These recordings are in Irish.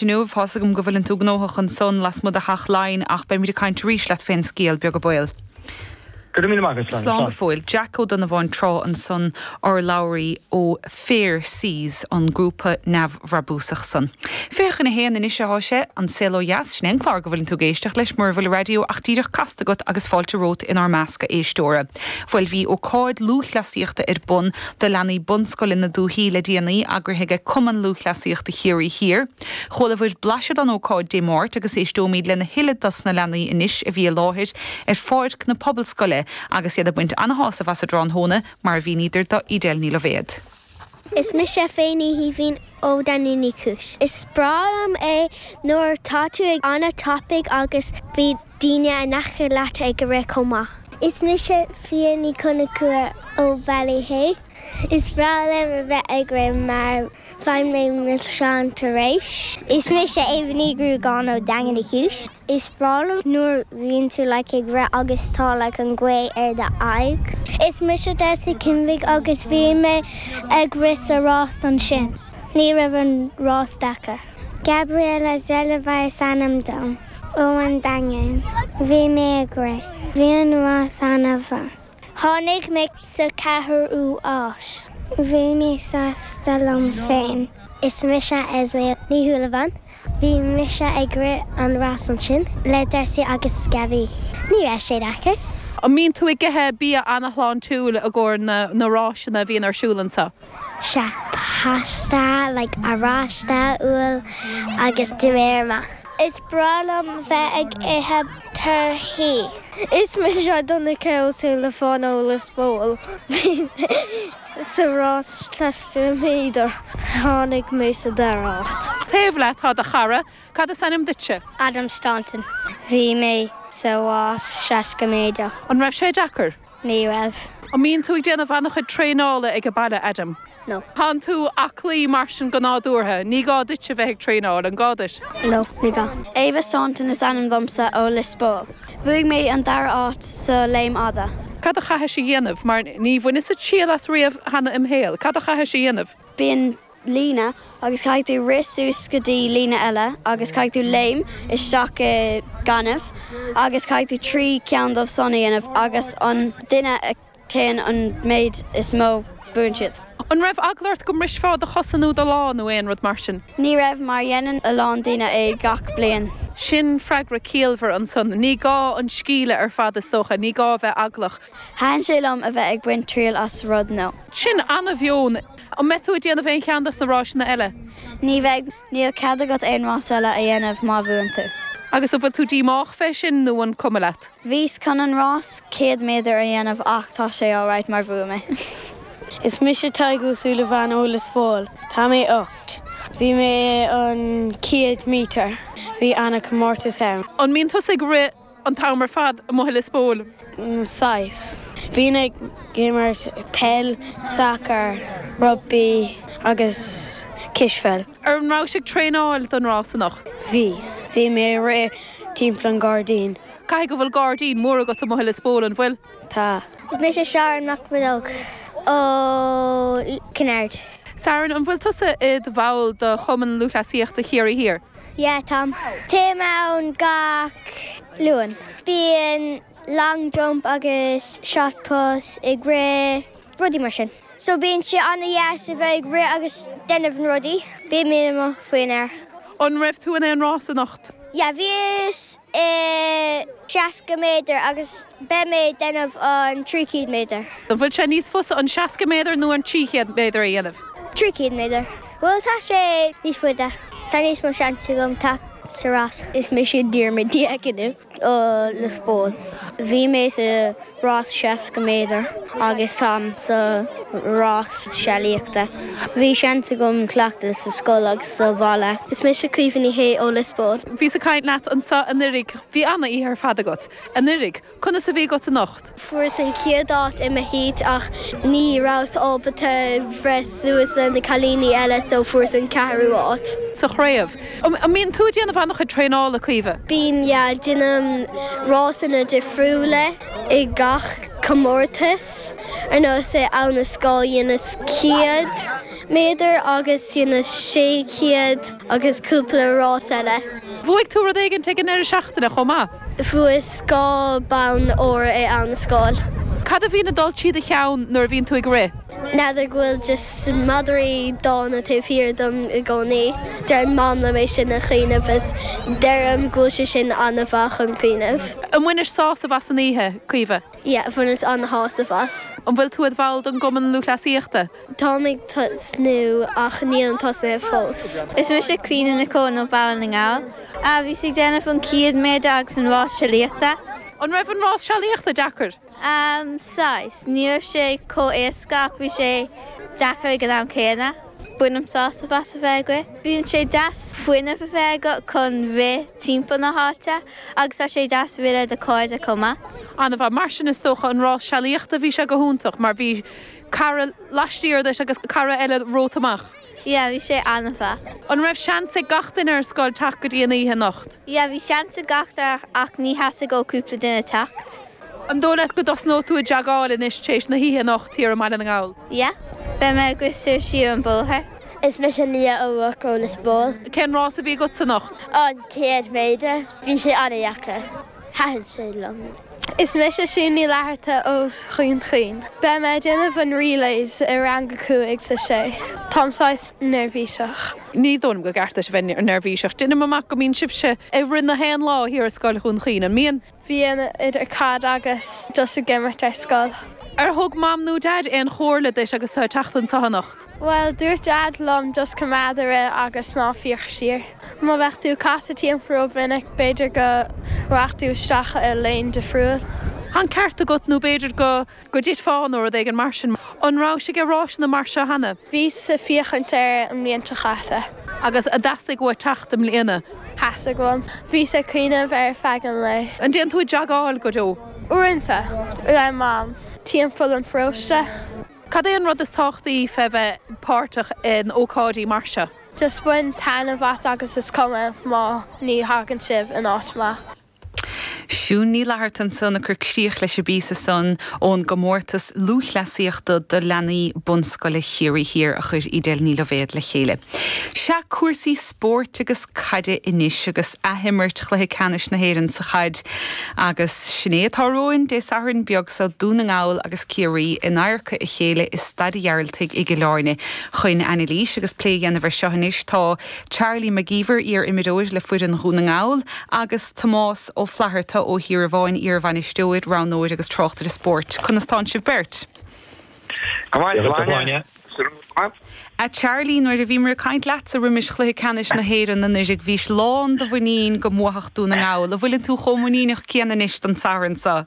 Inniu, tá's agam go bhfuileann tú gnóthach ansan lasmuigh de Theach Laighean ach beimid ag caint arís leat fén scéal, beag an baol. Go raibh míle maith agat, Slán. Slán go fóill. Jack Ó Donnabháin Trá ansan, urlabhraí ó Fair Seas, an grúpa neamhbhrabúsach san. 12:40 anois athá sé, An Saol Ó Dheas, sin é an clár go bhfuileann tú ag éisteacht leis mura bhfuil an raidió ach díreach casta agat agus fáilte romhat inár measc a éisteora. Bhuel bhí ócáid lúthchleasaíochta ar bun do leanaí bunscoile na dúichí le déanaí, eagraithe aige Cumann Lúthchleasaíochta Chiarraí Thiar. Chualabhair blaiseadh den ócáid Dé Máirt agus éisteoimid lena thuilleadh dos na leanaí anois a bhí i láthair ar pháirc na Pobalscoile agus iad ag baint ana-shásamh as an dtráthnóna, mar a mhíníodar do Edel Ní Loibhéad. Is mise Faye Ní Shaoibhín ó Daingean Uí Chúis. Is breá liom é nuair tá tú ag an-tapaidh agus bhí daoine in aice leat ag rith chomh maith. Is mise Fia Ní Chonchúir ó Ballyhea. Is breá liom a bheith ag rith mar faigheann mé milseáin tar éis. Is mise Ava Ní Ghruagáin ó Daingean Uí Chúis. Is breá liom nuair bhíonn tú like ag rith agus tá like an ghaoth ar do aghaidh. Is mise Darcy Kinvig agus bhí mé ag rith sa rás ansin. Ní raibh an rás deacair. Gabriella Zelova is ainm dom, ó an Daingean. Bhí mé ag rith. Bhí an rás an-mhaith. Tháinig mé sa ceathrú áit. Bhí mé sásta liom féin. Is mise Esme Ní Shúilleabháin. Bhí mise ag rith an rás ansin le Darcy agus Gabby. Ní raibh sé deacair. An mbíonn tú ag ithe bia an-shláintiúil i gcomhair na ráiseanna a bhíonn ar siúl anseo? Sea, pasta, like oráiste, úll agus dinnéar maith. Is breá liom bheith ag ithe torthaí. Is mise Donncha Ó Súilleabháin ó Lios Póil. Bhí mé sa rás 60 méadar. Tháinig mé sa dara háit. Taobh leat tá do chara. Cad is ainm duitse? Adam Staunton. Bhí mé sa rás 60 méadar. An raibh sé deacair? Ní raibh. An mbíonn tú ag déanamh an-chuid traenála ag an baile, Adam? No. Tánn tú aclaí mar sin go nádúrtha, ní gá duit a bheith ag traenáil, an gá duit? No, ní gá. Ava Staunton is ainm domsa ó Lios Póil. Bhuaigh mé an dara áit sa léim fhada. Cad a chaithis a dhéanamh? Mar ní bhaineas-sa triail as riamh cheana im shaol. Cad a chaithis a dhéanamh? Bíonn líne agus caithfidh tú rith suas go dtí líne eile agus caithfidh tú léim isteach i gaineamh agus caithfidh tú 3 ceann dóibh san a dhéanamh agus an duine a théann an méid is mó buann siad. An raibh eagla ort go mbrisfeá do chosa nó do lámh nó aon rud mar sin? Ní raibh mar dhéanann a lán daoine é gach bliain. Sin freagra ciallmhar ansan. Ní gá an scíle ar fad is dócha, ní gá a bheith eaglach. Thaitin sé liom a bheith ag baint triail as rud nua. Sin ana-mheon. An mbeidh tú ag déanamh aon cheann dos na ráiseanna eile? Ní bheidh. Níl cead agat aon rás eile a dhéanamh má bhuann tú. Agus an bhfuil tú díomách fé sin nó an cuma leat? Bhíos chun an rás 100 méadar a dhéanamh ach tá sé alright mar bhuaigh mé. Is mise Tadhg Ó Súilleabháin ó Lios Póil. Tá mé 8. Bhí mé i an 100 mítear. Bhí ana-comórtas ann. An mbíonn tusa ag rith An t-am ar fad amuigh i Lios Póil. Saghas. Bhínn ag imirt peil, sacar, rugbaí agus cispheil. An rabhais ag traenáil don rás anocht? Bhí. Bhí mé ag rith timpeall an gairdín. Caithfidh go bhfuil gairdín mór agat amuigh i Lios Póil, an bhfuil? Tá. Is mise Sharon Mac Bhidóg ó Kinnaird. Sharon, an bhfuil tusa i do bhall de Chumann Lúthchleasaíochta Chiarraí Thiar? Yeah, táim. Téim ann gach Luan. Bíonn long jump agus shot put ag rith, rudaí mar sin. So bíonn sé an-dheas a bheith ag rith agus déanamh na rudaí. Bíonn mé amuigh faoin aer. An raibh tú in aon rás anocht? Yeah, bhíos i 60 méadar agus beidh mé ag déanamh an 300 méadar. An bhfuil sé níos fusa an 60 méadar nó an 300 méadar a dhéanamh? 300 méadar. Bhuel tá sé níos faide. Tá níos mó seans agam teacht sa rás. Is mise Diarmuid Diaconu ó Lios Póil. Bhí mé sa rás 60 méadar agus táim sa rás sealaíochta. Bhí seans agam cleachtadh sa scoil agus sa bhaile. Is mise Caoimhe Ní Shé ó Lios Póil. Bhíos ag caint leat anseo anuraidh. Bhí ana-oíche ar fad agat anuraidh. Conas a bhí agat anocht? Fuaireas an chéad áit i mo heat ach ní rabhas ábalta bhreith suas le na cailíní eile so fuaireas an ceathrú áit. Sa chraobh. An mbíonn tú ag déanamh an-chuid traenála, Caoimhe? Bím, yeah. Déanaim rásanna difriúla i gach comórtas. Ar nós i Abhainn an Scáil dheineas 100. méadar agus dheineas 600 agus cúpla rás eile. Bhuaigh tú rud éigin ag an ndeireadh seachtaine chomh maith? Bhuas 2 bonn óir i am scoil. Cad a bhíonn ag dul trí do cheann nuair a bhíonn tú ag rith? N'fheadar go bhfuil just madraí dána taobh thiar dom i gcónaí. Deireann Mam liom é sin a chuimhneamh is deirim go bhfuil sé sin an-mhaith chun cuimhneamh. An bhainis sásamh as an oíche, Caoimhe? Yeah, bhaineas an-shásamh as. An bhfuil tú id bhall den gCumann Lúthchleasaíochta? Táim ag tosnú ach nílim tosnaithe fós. Is mise Clíona Nic Eoin ó Baile na nGall. Bhíos ag déanamh an 100 méadar agus an rás sealaíochta. An raibh an rás sealaíochta deacair? Saghas. Ní raibh sé chomh éasca ach bhí sé deacair ag an am céanna. Bainim sásamh as a bheith ag rith. Bíonn sé deas fuinneamh a bheith agat chun rith timpeall na háite agus tá sé deas rith le do chairde chomh maith. An-mhaith. Mar sin is dócha an rás sealaíochta bhí sé go hiontach mar bhí cara laistiar duit agus cara eile romhat amach. Yeah, bhí sé an-mhaith. An raibh seans ag gach duine ar scoil teacht go dtí an oíche anocht? Yeah, bhí seans ag gach duine ach ní theastaigh ó cúpla duine teacht. An dóigh leat go dtosnóidh tú ag jagáil anois tar éis na hoíche anocht thiar i mBaile na nGall? Yeah. Beidh mé ag rith soir siar an bóthar. Is mise Leah O'Rourke ó Lios Póil. Cén rás a bhí agatsa anocht? An 100 méadar. Bhí sé an-dheacair. Thaitin sé liom. Is mise Siún Ní Fhlatharta ó Dhún Chaoin. Beidh mé ag déanamh an relays i rang a 5 's a 6. Táim saghas neirbhíseach. Ní dóigh liom gur ceart duit a bheith neirbhíseach. Deinim amach go mbíonn sibhse ag rith na haon lá thiar i Scoil Dhún Chaoin, an mbíonn? Bíonn, idir caid agus just ag imirt ar scoil. Ar thug Mam nó Daid aon chomhairle duit agus tú ag teacht anseo anocht? Bhuel, dúirt Daid liom just coimeád ag rith agus ná féach siar. Má bheadh tú ag casadh timpeall rómhinic, b'fhéidir go rachadh tú isteach i lane difriúil. Tá an ceart agat, nó b'fhéidir go go dtitfeá nó rud éigin mar sin. An rabhais ag ráiseanna mar seo cheana? Bhíos ag féachaint air an mbliain seo chaite. Agus an dteastaigh uait teacht i mbliana? Theastaigh uaim. Bhíos ag cuimhneamh ar feadh an lae. An dtéann tú ag jagáil go deo? Uaireanta, le Mam, timpeall an pharóiste. Cad é an rud is tábhachtaí fé bheith páirteach in ócáidí mar seo? Just bain taitneamh as agus is cuma má ní thagann sibh in áit maith. Siún Ní Fhlatharta ansan ag cur críoch leis an bpíosa san ón gcomórtas lúthchleasaíochta do leanaí bunscoile Chiarraí Thiar a chuir Edel Ní Loibhéad le chéile. Sea, cúrsaí spóirt agus caide anois agus athimirt chluiche ceannais na hÉireann sa chaid agus sin é atá romhainn Dé Sathairn beag seo, Dún na nGall agus Ciarraí in adharca a chéile i Staid an Ghearaltaigh i gCill Airne. Chun anailís agus plé a dhéanamh ar seo anois tá Charlie Mac Íomhair, iar-imreoir le foireann Dhún na nGall, agus Tomás Ó Flatharta ó Thír an Bháin, iar-bhainisteoir, roghnóir agus tráchtaire spóirt. Conas tánn sibh beirt? Go maith, a Shláine. A Charlie, nuair a bhíomar ag caint leatsa roimis chluiche ceannais na hÉireann anuiridh, bhís lán de mhuinín go mbuafadh Dún na nGall. An bhfuileann tú chomh muiníneach céanna anois don Satharn seo?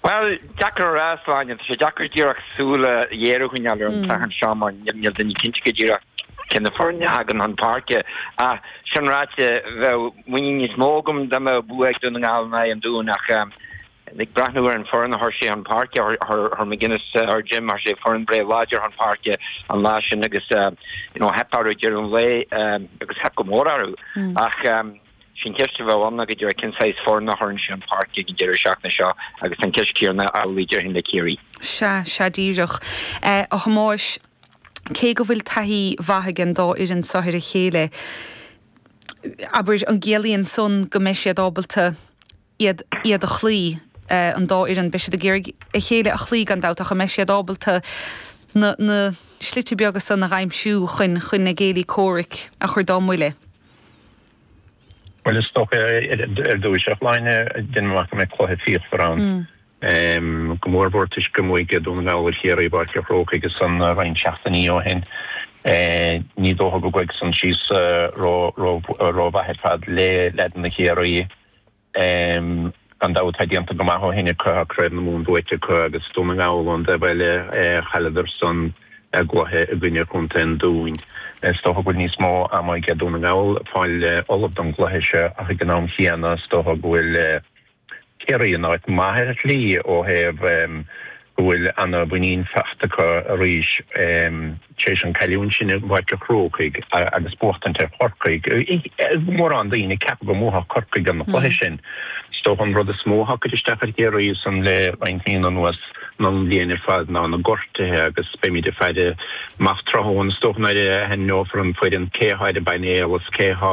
Bhuel, deacair a rá, a Shláine. Tá sé deacair díreach súil ghéar a choinneáil ar an Satharn seo mar níl duine cinnte go díreach cé na foirne a thagann chun páirce. Ach sin ráite, bheadh muinín níos mó agam dá mbeadh bua ag Dún na nGall in aghaidh an Dúin ach ag breathnú ar an foireann a chuir sé chun páirce, chuir McGuinness, chuir Jim, chuir sé foireann breá láidir chun páirce an lá sin agus you know theip orthu ag deireadh an lae agus theip go mór orthu. Ach Is í an cheist a bheadh ann ná go díreach cén saghas foireann a chuireann sé chun páirce ag an deireadh seachtaine seo agus tá an cheist chéanna amhlaidh déarfainn le Ciarraí. Sea, sea díreach. A Thomáis, cé go bhfuil taithí mhaith ag an dá fhoireann seo ar a chéile, abair, an gciallaíonn san go mbeidh siad ábalta iad, iad a chloí, an dá fhoireann, beidh siad ag iarraidh a chéile a chloí gan dabht ach an mbeidh siad ábalta na, na slite beaga san a dh'aimsiú chun, chun a gcéilí comhraic a chur dá mbuille? Bhuel, is dócha ar dtús, a Shláine, deinim amach go mbeidh cluiche fíochmhar ann. Go mór mhór toisc gur bhuaigh Dún na nGall ar Chiarraí i bPáirc an Chrócaigh ansan roinnt seachtainí ó shin. Ní dócha go gcuirfidh san síos rómhaith ar fad le leaideanna Chiarraí. Gan dabht tá déanta go maith ó shin acu, tá Craobh na Mumhan buaite acu agus Dún na nGall ón dtaobh eile, chailleadar san a gcluiche i gcoinne Chontae an Dúin. Is dócha go bhfuil níos mó ama ag Dún na nGall fáil ullamh don gcluiche seo ach ag an am chéanna is dócha go bhfuil Ciarraí in áit maith ar shlí ó thaobh. Go bhfuil ana-mhuinín faighte acu arís tar éis an cailliúint sin i bPáirc an Chrócaigh agus buachtaint ar Chorcaigh. Mórán daoine ag ceapadh go mbuafadh Corcaigh an cluiche sin. Is dócha an rud is mó atá ag cur isteach ar Chiarraí ansan le roinnt míonna anuas nó an bhliain ar fad ná na gortuithe agus beimid ag faire amach tráthnóna is dócha nuair a ainmneofar an foireann cé atá ar an bpainéal is cé atá.